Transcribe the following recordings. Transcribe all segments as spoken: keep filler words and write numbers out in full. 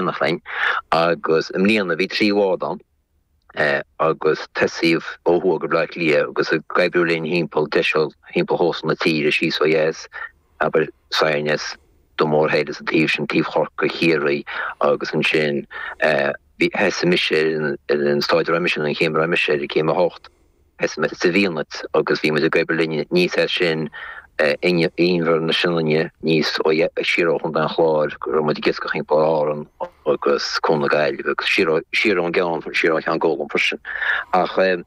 éineacht linn agus i mbliana bhí trí bhád ann agus tosaíodh ó thuaidh go Baile Átha Cliath agus ag oibriú linn thimpeall deiseal thimpeall chósta na tíre síos ó dheas, abair Saighneas, Dún Mór Thoir is an taobh sin, taobh Chorcaí, Chiarraí agus ansin bhí thosaigh mise ar an stáid a raibh mise, an chéim a raibh mise ar, céim a hocht. Thosaigh muid sa bhFianait agus bhí muid ag oibriú linn aníos as sin Inbhear na Sionainne aníos ó siar ó Chontae an Chláir go raibh muid ag iascach thimpeall Árann agus Co na Gaillimhe agus siar ó siar ón gceann siar ó Cheann Gólan freisin. Ach an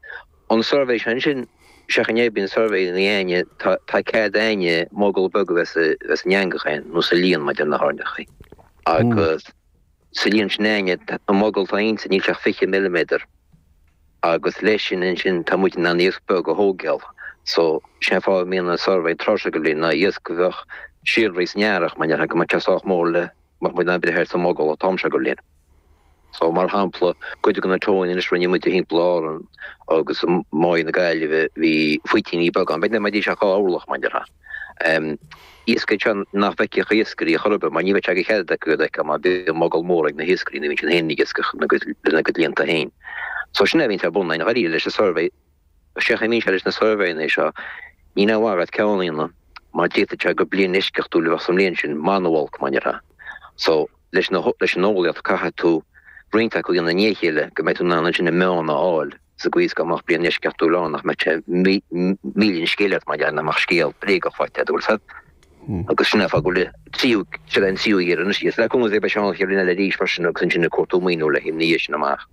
suirbhé sin ansin seachas é bíonn suirbhé ina dhiaidh tá tá cead a'inne mogall beag a bheith sa bheith san eangach a'inn nó sa líon maidir na hairneachaí agus sa líon sin a'inne an mogall atá inti níl sé ach fiche milliméadar. Agus leis sin ansin tá muid in ann iasc beag a thógáil. So, sin an fáth a mbíonn an suirbhé tráth seo den bhliain, ná iasc a bheadh síolraithe san earrach, mar déarfá, go mbeadh sé sách mór le go mbeadh muid in ann breith air sa mogall an t-am seo den bhliain. So, mar shampla, cuid de na tóin anois rinne muid thimpeall Árann agus i Maigh na Gaillimhe, bhí faoitíní beaga ann, b'fhéidir nach mbeidís ach dhá orlach, mar déarfá. Iasc é seo nach bhfeicfeadh iascairí chor ar bith mar ní bheadh sé de chead acu iad a fheiceáil mar bíonn mogall mór ag na hiascairí nuair a bhíonn siad féin ag iascach lena gcuid líonta féin. So sin é a bhíonns ar bun againn dháiríre leis an suirbhé. Sé a mbíonn sé leis na suirbhéanna seo, ní aon mhaith agat ceann a dhéanamh mar d'fhéadfadh sé gur bliain eisceachtúil a bheadh sa mbliain sin, maith nó olc mar déarfá. So leis na leis an eolaíocht caithfidh tú roinnt acu a dhéanamh i ndiaidh a chéile go mbeidh tú in ann ansin an meán a fháil. Sa gcaoi is go mbeadh bliain eisceachtúil ann nach mbeadh sé milleadh an scéil ort mar gheall nach mbeadh scéal bréagach faighte agat, bhfuil 'fhios a'd. Agus sin é an fáth go bhfuil tríú, seo an tríú iarraidh anois, is le cúnamh Dé beidh sé ann an chéad bhliain eile arís freisin agus ansin ag cuartú maoiniú le haghaidh na dhiaidh sin amach.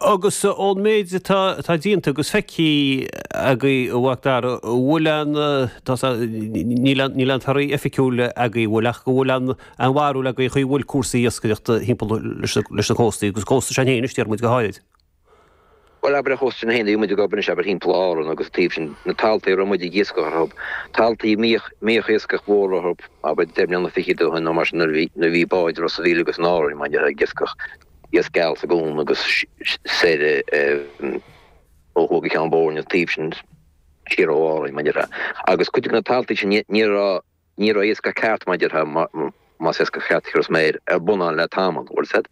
Agus ón méid atá atá déanta agus feicthe agaibh a Mhac Dara, an bhfuil an, tá níl an níl an torthaí oifigiúil agaibh, bhfuil ach go bhfuil an an bharúil agaibh chaoi bhfuil cúrsaí iascaireachta thimpeall leis na leis na cóstaí agus cósta s'againn féin anois déarfaidh muid go háirid. Bhuel, abair ar chósta s'againn féin, bhí muid ag obair anois, abair, thimpeall Árann agus an taobh sin, na taltaí a raibh muid ag iascach orthu, taltaí a mbíodh, mbíodh iascach mhór orthu, abair, deich mbliana fichead ó shin nó mar sin nuair a bhí, nuair a bhí báid Ros a' Mhíl agus in Árainn, mar déarfá, ag iascach iasc geal sa gcuan agus soir ó thuaidh go Ceann Boirne, an taobh sin siar ó Árainn, mar déarfá. Agus cuid de na taltaí sin, ní, ní raibh, ní raibh iascach ceart, mar déarfá, más iascach ceart a thiúrfas mé air, ar bun ann le tamall, bhfuil 'fhios a'd,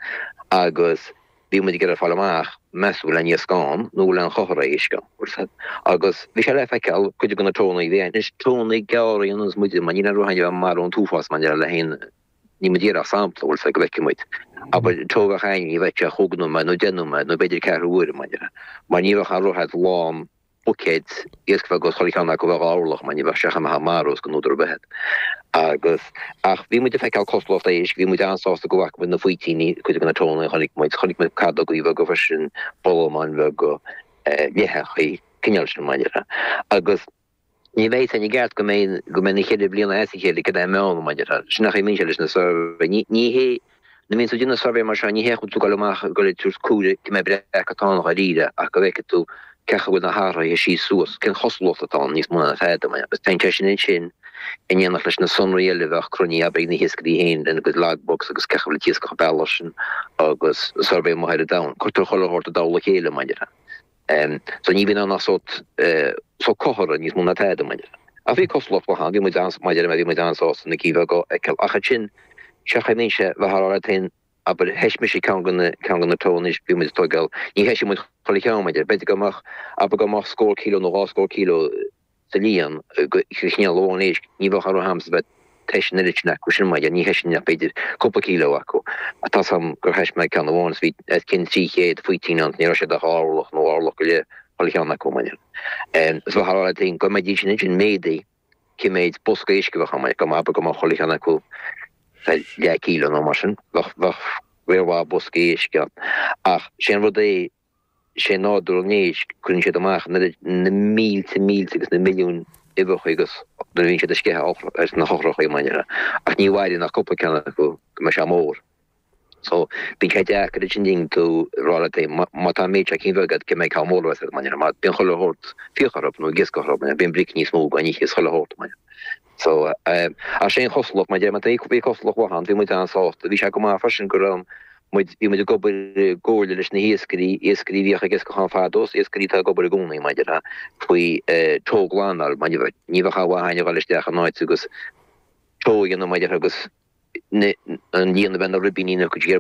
agus bhí muid ag iarraidh fáil amach, meas tú bhfuil aon iasc ann nó bhfuil aon chothar éisc ann, bhfuil 'fhios a'd. Agus bhí sé le feiceáil, cuid de na tóanna a bhí ann, anois tóanna gearra a dhéananns muide, mar níl aon rud againn a bheith ag marú an t-uafás mar déarfá le haon, níl muid ag iarraidh ach sampla, bhfuil 'fhios a'd, go bhfeicfidh muid. Abair, tó a bheadh againn, ní bheadh sé ach chúig nóiméad nó deich nóiméad nó b'fhéidir ceathrú uaire, mar déarfá, mar ní bheadh aon rud a'd lán buicéid iasc bheag agus chuile cheann acu a bheith dhá orlach mar ní bheadh sé chun a mharú os go n-údar ar bith iad. Agus, ach bhí muid ag feiceáil cosúlacht éisc, bhí muid an-sásta go bhfaca muid na faoitíní, cuid de na tóanna a chonaic muid, chonaic muid cadógaí beaga freisin, bolamáin bheaga, leitheachaí, cineál sin mar déarfá. Agus ní bheidh a fhios againn i gceart go mbeidh, go mbeidh na ceithre bliana as a chéile cad é an meán mar déarfá. Sin an chaoi a mbíonn sé leis na suirbhé. Ní, ní hé, nuair a bhíonn tú ag déanamh suirbhé mar seo, ní hé go bhfuil tú ag dul amach ag dul ag tabhairt cuaire cé mhéad breac atá ann dháiríre ach go bhfeicfidh tú cén chaoi a bhfuil na hathruithe síos suas, cén chosúlacht atá ann níos mó ná tada. Agus téann sé sin ansin in éineacht leis na sonraí eile a bheadh cruinnithe abair ag na hiascairí féin lena gcuid logbooks agus cén chaoi a bhfuil an t-iascach ag bealach sin agus suirbhé amuigh ar an domhan. Cuirtear chuile shórt i dtoll a chéile mar déarfá. So ní bhíonn ann ach sórt sórt comhartha níos mó ná tada mar déarfá. Ach bhí cosúlacht mhaith ann, bhí muid an, mar a deir mé, bhí muid an-sásta na cinn bheaga a fheiceáil. Ach ansin, sé an chaoi a mbíonn sé, bheifeá a rá leat féin, abair, thoisigh mise ceann de na, ceann de na tóanna anois, bhí muid ag tógáil, ní thoisigh muid chuile cheann, mar déarfá, b'fhéidir go mbeadh, abair go mbeadh scór cíleo nó dhá scór cíleo sa líon de chineál amháin éisc, ní bheadh aon rud a'msa bheith ag tomhais an oiread sin acu sin, mar dhea, ní thoisfinn ach b'fhéidir cúpla cíleo acu. Ach tá's a'm gur thois mé ceann amháin is bhí os cionn trí chéad faoitín ann, ní raibh siad ach dhá orlach nó orlach go leith chuile cheann acu, mar dhea. Is bheifeá a rá leat féin go mbeidís sin ansin méadaithe cé méid bosca éisc a bheadh ann, mar dhea, go mbeadh, go mbeadh chuile cheann acu leath cíleo nó mar sin, bheadh, bheadh riar mhaith boscaí éisc ann. Ach sé an rud é, sé nádúr an éisc, cuireann siad amach an oiread, na mílte mílte agus na milliúin uibheacha agus nuair a bhíonn siad ag sceitheadh ar na heochracha mar dhea, ach ní mhaireann ach cúpla ceann acu go mbeidh sé mór. So, bíonn sé deacair ansin ding tú rá leat féin, má tá an méid seo cinn bheaga agat, cé mhéad ceann mór a bheas agat mar dhea, mar bíonn chuile shórt fiach orthu nó ag iascach orthu mar dhea, bíonn bric níos mó gan ithe is chuile shórt mar dhea. So, ach sé an chosúlacht, mar a deir mé, bhí cosúlacht mhaith ann, bhí muid an-sásta, bhí sé go maith freisin go raibh muid, bhí muid ag obair i gcomhairle leis na hiascairí, iascairí a bhíodh ag iascach ann fadó is iascairí atá ag obair i gcónaí, mar a déarfá, faoi togh-ghlanadh, mar ní bheadh aon mhaith againn a dhul isteach in áit agus togh a dhéanamh, mar a déarfá, agus an líon a bheith na ribíní go dtí ar